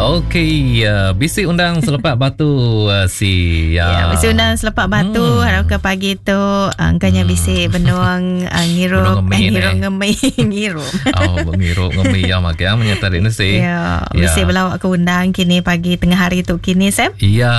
Okey, uh, bisi undang selepak batu uh, si ya. Ya, bisi undang selepak batu hmm. harap ke pagi tu uh, angkanya hmm. bisi benung uh, ngirup eh, ngirup ngemi ngirup. Oh, ngirup ngemi ya mak yang menyata ni si. Ya, ya. bisi belawak ke undang kini pagi tengah hari tu kini Sam. Ya,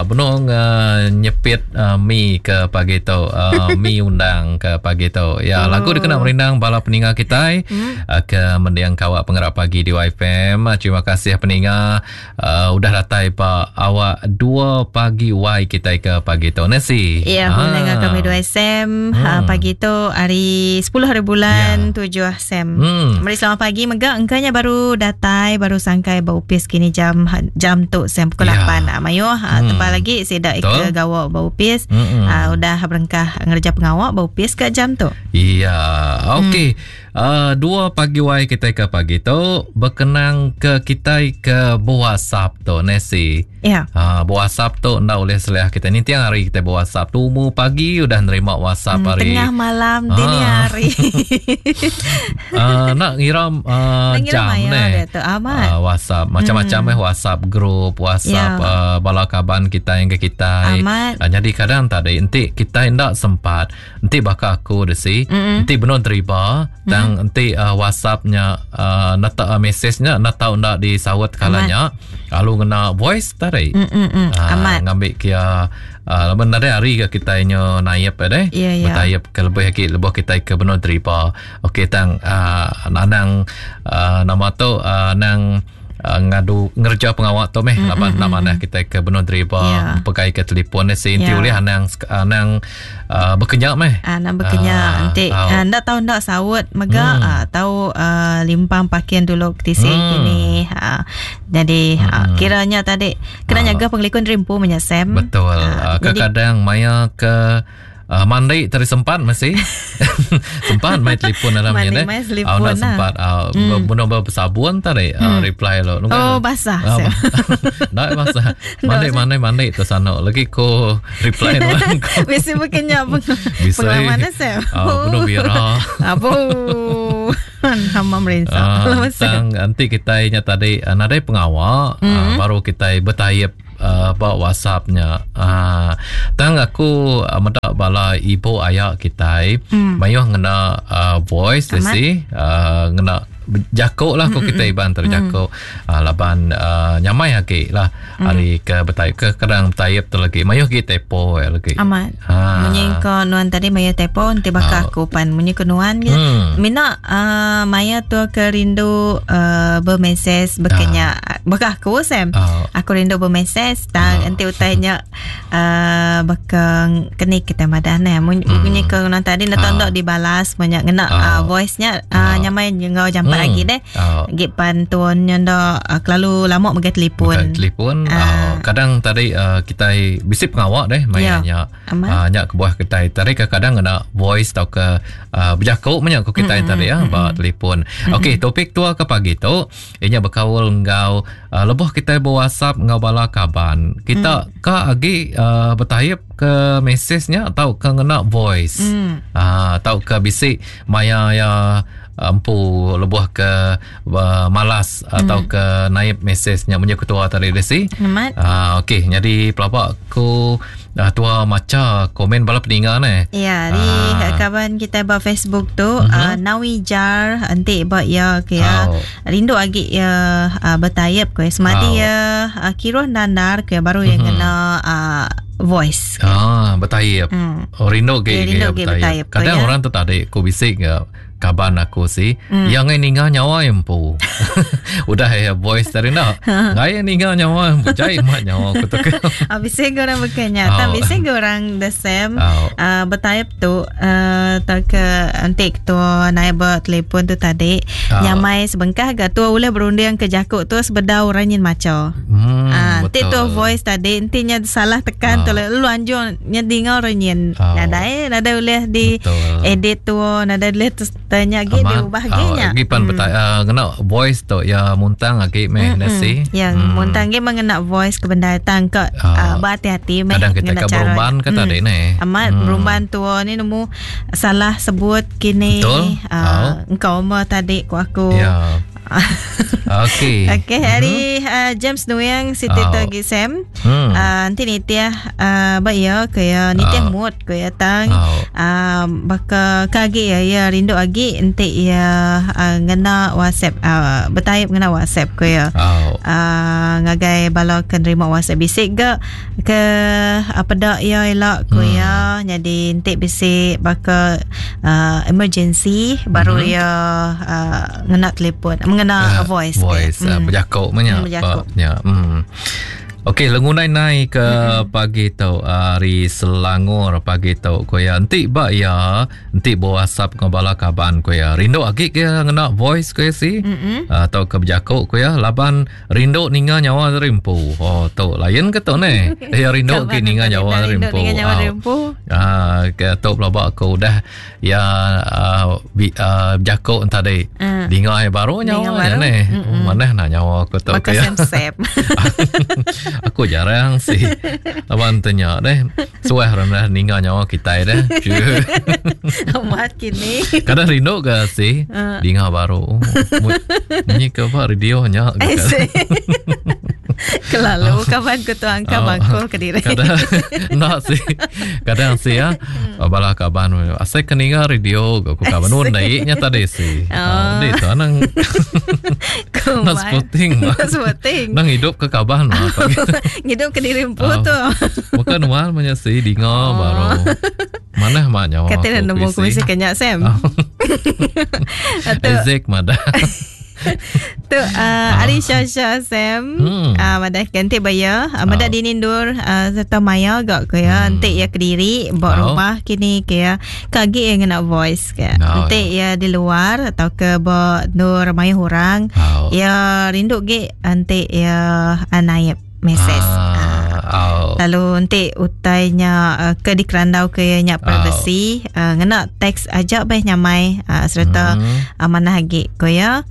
benung uh, nyepit uh, mi ke pagi tu uh, mi undang ke pagi tu. Ya, oh. lagu dikena merindang bala peninga kita hmm. uh, ke mendiang kawak pengerak pagi di YFM. Uh, terima kasih peninga uh, udah datai ba awak 2 pagi Y kita ke pagi tu. Nasi. Ya, ah. mendengar kami 2 SM hmm. uh, pagi tu hari 10 hari bulan ya. 7 SM. Hmm. Meri selamat pagi mega engkanya baru datai baru sangkai ba upis kini jam jam tu Sam pukul ya. 8. Uh, mayuh uh, hmm. tebal lagi sida ke gawa ba upis. Hmm. Uh, udah berengkah ngerja pengawak ba upis ke jam tu. Iya. Okey. Hmm. Uh, dua pagi wai kita ke pagi tu berkenang ke kita ke WhatsApp tu Nesi. Ya. Uh, WhatsApp tu nda boleh seliah kita ni tiang hari kita WhatsApp tu mu pagi udah nerima WhatsApp hmm, hari. Tengah malam uh. dini hari. uh, nak ngira uh, jam ni. Uh, WhatsApp macam-macam hmm. eh WhatsApp group, WhatsApp ya. uh, bala kaban kita yang ke kita. Amat. Uh, jadi kadang tadi enti kita ndak sempat Enti baka aku desi, mm-hmm. enti benung deriba, mm-hmm. tang enti uh, WhatsApp nya uh, nata uh, message nya enda tau enda disaut kala nya, lalu ngena voice tadi. Mm-hmm. Uh, Amat. Ngambi kia uh, laban nadai hari ke kitai nyo naip eh deh. Yeah, yeah. Betayap ke lebih agi lebuh kitai ke benung deriba. Okey tang uh, anang uh, nama tu uh, anang uh, ngadu ngereja pengawa tu meh mm, laban mm, nama mm, kita ke benung deriba yeah. pegai ke telefon ni si yeah. ulih anang anang uh, bekenya meh anang bekenya uh, enti uh, ndak tau ndak saut mega mm. uh, tau uh, limpang parking dulu ke tisi mm. kini uh, jadi mm. uh, kiranya tadi kena uh, nyaga pengelikun rimpu menyesem betul uh, kadang maya ke Uh, mandi tadi sempat masih sempat main telefon dalam ni eh. Oh, nak sempat uh, hmm. bunuh bersabun tadi uh, hmm. reply lo. Oh basah. Uh, nak basah. Mandi mandi mandi tu sana lagi ko reply nuan ko. Bisa bukannya pengalaman saya. Oh, bunuh bira. Abu. Hama merinsa. Uh, tang nanti kita nya tadi uh, nadai pengawal mm-hmm. uh, baru kita bertayap uh, ba WhatsApp nya. Uh, tang aku uh, meda bala ibu aya kitai mm. mayuh ngena uh, voice desi uh, ngena jako lah ko kita iban terjako mm. uh, laban uh, nyamai agi lah mm. ari ke betayap ke kadang betayap tu lagi mayuh gi tepo eh, lagi amat ha. munyi ko nuan tadi mayuh tepo nanti baka uh. aku pan munyi ko nuan mm. mina uh, maya tu ke rindu uh, bermeses bekenya uh. Baka aku Sam. Oh. Aku rindu bermesej tang oh. enti utai nya uh, baka keni kita madah ne. Munyi mm. ke nang tadi nak oh. dibalas banyak ngena oh. uh, voice nya uh, oh. nyamai ngau jampat mm. lagi deh. Oh. Gi pan tuan nya ndak uh, kelalu lama megai telefon. Megai telefon. Uh. Uh, kadang tadi uh, kita bisi pengawak deh maya yeah. nya. Uh, nya kebuah kita tadi kadang ngena voice tau ke uh, bejaku menya ko kita mm-hmm. tadi ya mm-hmm. ba telefon. Mm-hmm. Okey, topik tua ke pagi tu Inya bekaul enggau uh, lebuh kitai berwhatsapp enggau bala kaban. Kita mm. ka agi uh, bertayap ke mesej nya atau ke ngena voice. Mm. Uh, atau ke bisi maya ya empu lebuh ke uh, malas mm. atau ke naip mesej nya munyi ketua tadi desi. Amat. Uh, okey, jadi pelaba aku uh, tua macha komen bala peninga ne. Ya, di uh. kawan kita ba Facebook tu uh-huh. uh, Nawi Jar enti ba ya ke ya. Oh. Rindu agi ya uh, bertayap ke semadi Oh. ya uh, kiruh nandar ke baru yang Mhm. kena uh, voice. Ah, bertayap. Hmm. Oh, rindu ke Ya, rindu ke ke bertayap. Kadang Ya. orang tu tadi ku bisik ke kaban aku si mm. yang ngai ninga nyawa empu. Udah ya voice tadi nak. Ngai ninga nyawa empu. Jai mat nyawa aku tu. Ah, bisa ke orang bukannya. Oh. Tak bisa ke orang the same. Oh. Uh, bertayap tu uh, tak ke antik tu naik bertelefon tu tadi. Oh. Nyamai sebengkah ga tu boleh berunding ke jakuk tu sebedau orang nyin maca. Hmm, Ah, nanti tu betul. voice tadi intinya salah tekan Ah. tu lu anjung nya dengar orang nyin. Oh. Nadai nadai boleh di Betul. edit tu nadai boleh terus tanya lagi Amat. diubah lagi Oh, nya. Lagi pan hmm. betai, uh, ngena voice tu ya muntang lagi meh nasi. Yang hmm. muntang ge mengena voice ke benda tang ke Ah. uh, berhati-hati meh Kadang kita ngena ke cara. berumban ke tadi ni. Amat hmm. berumban tua ni nemu salah sebut kini Betul. Uh, engkau mah tadi ku aku. Ya. Okey. Okey, hari James Nuing siti tu agi Sam. Enti nitih ba iya ke iya nitih mood ke iya tang baka ke agi iya iya rindu agi enti iya ngena WhatsApp betaip ngena WhatsApp ke iya. Ngagai bala ke nerima WhatsApp bisi ga ke peda iya ila ku iya nyadi enti bisi baka emergency baru iya ngena telefon mengena voice voice bejaku meh nya nya. Okey lengundai nai ke pagi tu ari Selangor pagi tu ku iya enti ba iya Enti bewasap enggau bala kaban ku iya, rindu agi ke iya ngena voice ku iya si tauka bejaku ku iya laban rindu ninga nyawa diri empu. Oh tu lain ke tu neh. Iya rindu agi ninga nyawa diri empu. Ah ke tu pelaba aku udah iya bejaku tadi. Dinga iya baru nyawa iya neh. Manah nak nyawa aku tu ku iya. Aku jarang si laban tu nya deh. Suah orang dah ninga nyawa kitai dah. Amat kini. Kadang rindu ke si dinga baru. Munyi ke ba radio nya. Eh, Kelalu kaban ku tu angka oh. bangkul ke diri. Kadang nak si. Kadang si ya. Bala kaban asai ke ninga radio ku kaban nun dai nya tadi si. Oh. Di tu anang. Nak sporting. Sporting. Nang hidup ke kaban mah. Ngidup ke diri empu oh. tu. Bukan nuan menya si dinga oh. baru. Manah mak nyawa. Kata nemu ku mesti kenya Sam. Oh. Isaac madah. Tu ari Shasha Sam madah ke enti baya meda dini endur serta maya ga ke ya enti ya kediri ba rumah kini ke ya ka agi ya ngena voice ke enti ya di luar atau ke ba endur mayuh orang ya rindu gi enti ya naip message. Ah, Lalu enti utai nya ke dikerandau ke iya nya privacy ngena teks aja beh nyamai sereta manah agi ko iya.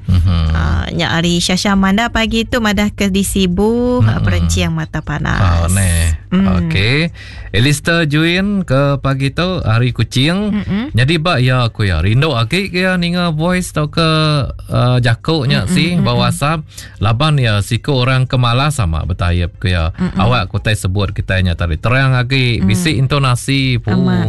Nya ari Shasha Amanda pagi tu madah ke di Sibu perenching mata panas. Oh neh. Okey. Elister Juin ke pagi tu hari Kuching. Nyadi ba iya ku iya rindu agi ke iya ninga voice tauka jaku nya si ba WhatsApp. Laban iya siku orang ke malas ama betayep ku iya. Awak ku utai sebut kitai nya tadi terang agi, bisi intonasi pu.